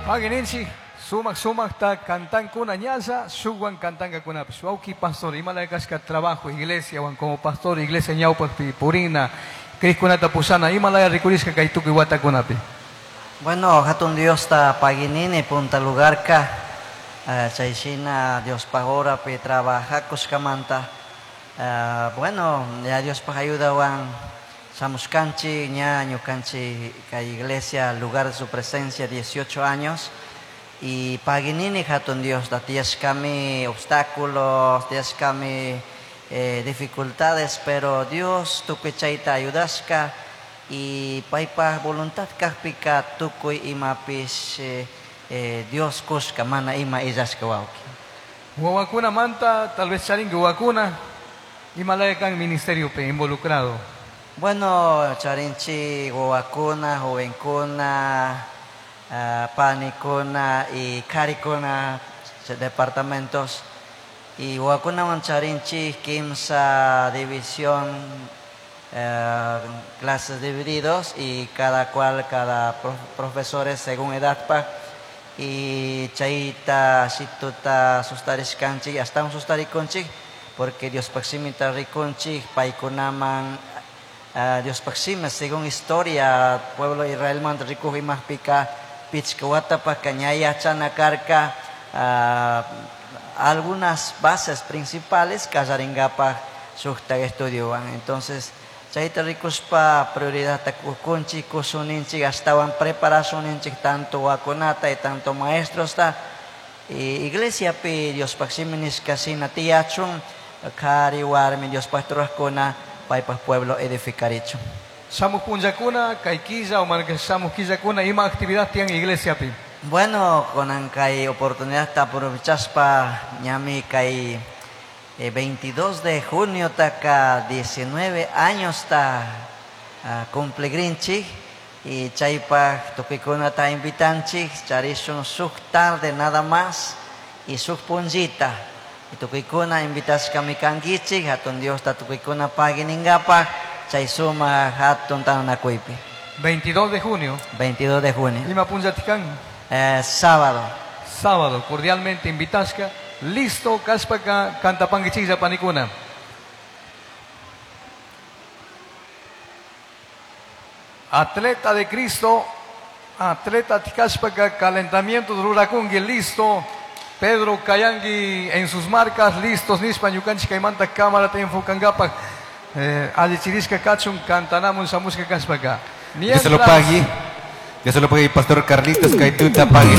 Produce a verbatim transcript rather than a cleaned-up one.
Pagininchi sumak sumakta kantankuna ñalla shukwan kantankakunapish wawki pastor imalaya kashka trabajo iglesia wan como pastor iglesia ñawpakpi purina krikkunata pushana imalaya rikurishka kay tukuy watakunapi. Bueno, hatun Diosta paginini punta lugarka uh, chayshina Diospaj horapi trabajakushkamanta uh, bueno, ya Diospaj ayudawan shamushkanchik ña ñukanchik kay iglesia lugar de su presencia dieciocho años y paginini hatun Diosta tiyashkami obstáculos, tiyashkami eh, dificultades, pero Dios tukuy chayta ayudashka y paypaj voluntad kajpika tukuy imapish eh, eh, Dios kushka mana ima illashka wawki. Wawakuna manta tal vez charinki wawakuna imalaya kan ministeriopi involucrado. Bueno, charinchik wawakuna, jovenkuna, uh, panikuna y karikuna departamentos y wawakunawan charinchik kimsa división eh, clases divididos y cada cual, cada prof, profesores según edad pa y chayta shituta sustarishkanchik astawan sustarikunchik porque Diospaj shimita rikunchik paykunaman uh, Diospaj shimi según historia pueblo Israelmanta rikuj imajpika pichka watapajka ña yachana karka uh, algunas bases principales kallaringapaj shukta estudiowan. Entonces chayta rikushpa prioridadta kukunchik kusuninchik astawan preparasuninchik tanto wawakunata y tanto maestrosta y iglesiapi Diospaj shimi nishka shina tiyachun kari warmi Diospaj rurajkuna paypaj pueblo edificarichun. Shamuj punllakuna kay killa o mana shamuj killakuna ima actividad tiyan iglesiapi. Bueno, kunan kay oportunidad aprovechaspa ñami kay eh, veintidós de junio taka diecinueve años ta uh, cumpligrinchik y chaypaj tukuykunata invitanchik charishun shuk tarde nada más y shuk punllita y tukuykuna invitashkami kankichik hatun Diosta tukuykuna paginingapaj chay suma hatun tantanakuypi. veintidós de junio. veintidós de junio. Ima punllati kan? Eh, sábado. Sábado, cordialmente invitashka. Listo, kashpaka kantapankichiklla panikuna. Atleta de Cristo, atleta kashpaka calentamiento rurakunki, listo. Pedro Kayangi en sus marcas, listos, nishpa ñukanchik kaymanta cámara te enfocangapak. Eh, allichirishka kachun kantanamun shamushka kashpaka. Dios se lo pague. Dios se lo pague, Pastor Carlitos Kaituta pague.